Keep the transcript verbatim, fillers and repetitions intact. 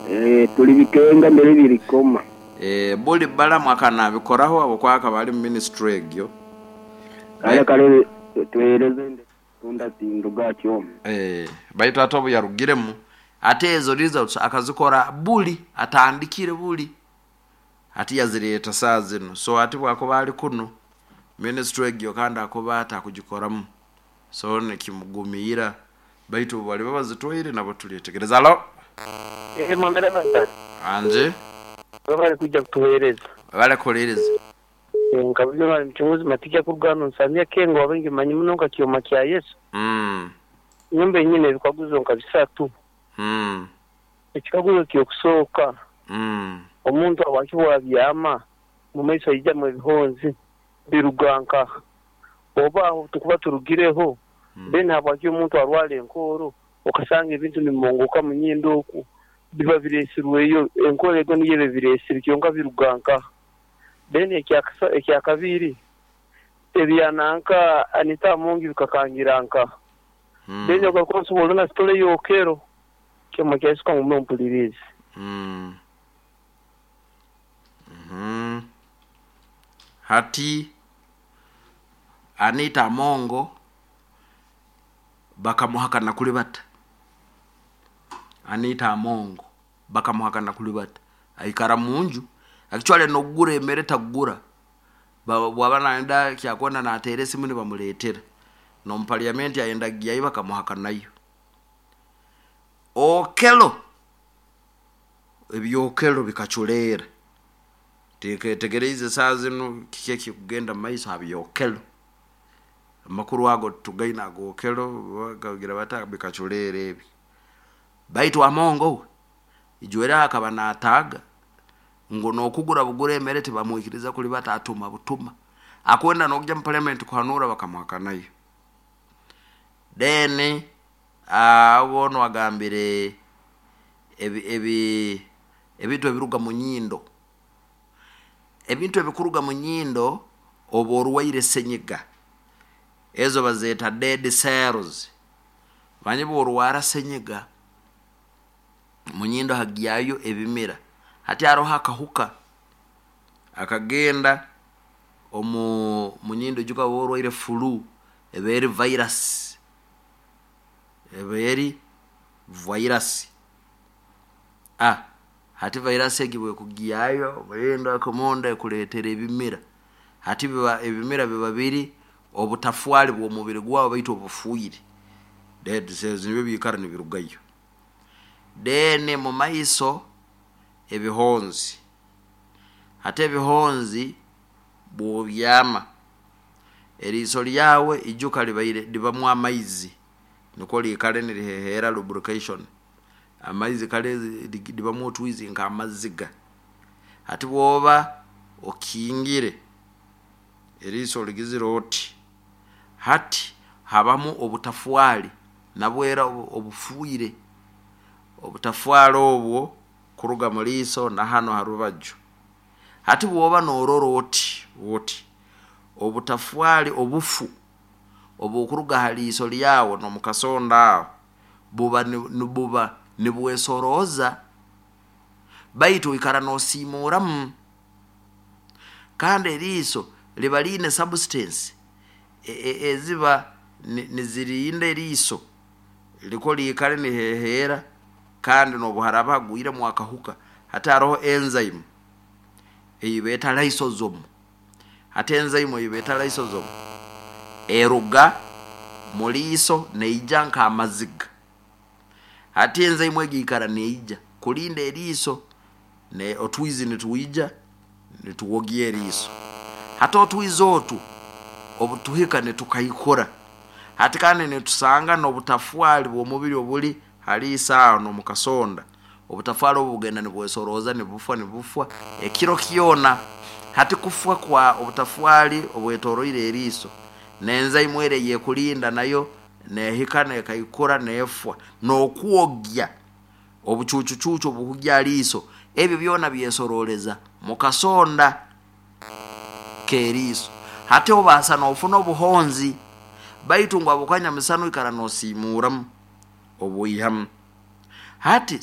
Eh, tuli bikenga mbere birikoma. Eh, buli Balamu akanabikoraho habwokuba akaba ali mu ministry egyo. Kale kale tuhereze tunda tinduga kyoma. Eh, baitu ate obu yarugiremu, ate ezo results akazikora buli atandikire buli ati yazireeta saa zinu. So ati bwakuba ali kunu ministry egyo kandi akuba ati akugikoramu, so nikimugumiira, baitu bali bazitwaire nabo tulyetegereza. Alo. Eh, mwamera bata. Anje. Bali kujja kutuhereza. Bale kulereza. Nkabulyo bali mchunguzi matija kurugano nsamia kengo wabengi manyi muno nka kyoma kya Yesu. mm. Nyumba enyine ebikaguzo nka bisatu. Mm. Ekikaguzo kyokusooka, Mm. omuntu awakibwa byama mu maiso ayijamu ebihonzi biruga nkaha? Oba aho tukuba turugireho, Mm. then habwaki omuntu arwara enkooro, okasanga ebintu nibimongoka mu nyindo oku biba biresirweyo? Enkooro ego niyo eba biresire, kyonka biruga nkaha? Then ekyakasa- ekyakabiri, ebyananka Anita Amongi bikakangira nkaha? Mm. Then ogakonsobola na sitole yokero kyoma kyasuka mume mpulirizi. Mm. Mhm. Hati Anita Amongo bakamuhakana kuli bata? Anita Amongo bakamuhakana kuli bata? Aikara munju, akichwale nokugura emere tagura. Ba- bwaba naenda kyakwenda nateera esimu nibamuleetera. N'omu parliament ayenda gyayo, bakamuhakanayo. Okelo, ebyokelo bikaculeera. Tegereize saa zinu kiki ekikugenda mu maiso ha byokelo. Amakuru ago tugaina agokelo bakagira bata bikaculeera ebi. Baitu Amongo we ijwera akaba nataaga ngu nokugura bugura emere tibamwikiriza kuli bata, atuma butuma. Akwenda nokujya mu parliament kuhanura, bakamuhakanayo. Then abo wagambire ebi, ebi ebintu ebiruga mu nyindo, ebintu ebikuruga mu nyindo oba orwaire senyiga, ezo bazeeta dead cells. Manye bworwara senyiga, mu nyindo hagyayo ebimira. Hati haroho akahuka akagenda omu mu nyindo. Ijuka oba orwaire flu, eba eri virus, eba eri virus. Ah, hati virus egi bwekugyayo murindo akomunda ekuleetera ebimira. Hati biba ebimira biba biri obutafwali bw'omubiri gwawe, baitu obufuire, dead cells, nibyo biikara nibirugayo. Then mu maiso ebihonzi. Hati ebihonzi bwobyama, eriiso lyawe ijuka libaire libamu amaizi nikwo liikale niriheheera, lubrication, amaizi kale li- libamu otwizi nk'amaziga. Hati bwoba okingire eriiso ligizire oti, hati habamu obutafwali nabwera obu- obufuire. Obutafwali obwo kuruga mu liiso na hano ha rubaju. Hati bwoba norora oti oti, obutafwali obufu obukuruga ha liiso lyawe nomukasonda aho buba ni- nibuba nibwesorooza, baitu oikara nosiimuramu. Kandi eriiso liba liine substance e- e- eziba ni- nizirinda eriiso liko liikale niheheera, kandi nobu haraba hagwiremu akahuka. Hati haroho enzyme eyi beeta lysosome. Hati enzyme eyi beeta lysosome eruga mu liiso neija nk'amaziga. Hati enzyme egi ikara neija kulinda eriiso, ne otwizi nitwija nituwogya eriiso. Hati otwizi otu obutuhika nitukaikura, hati kandi nitusanga n'obutafwali bw'omubiri obuli haliiso aho n'omukasonda. Obutafwali obu bugenda nibwesorooza, nibufwa, nibufwa ekiro kyona. Hati kufwa kwa obutafwali obwetoroire eriiso, n'enzyme ere eyekulinda nayo nehika nekaikura nefwa, n'okwogya obucucucucu obuhugya liiso, ebyo byona byesoroleza mukasonda k'eriiso. Hati obaasa nofuna obuhonzi, baitu ngu abukanya misana oikara nosiimuramu obwihamu. Hati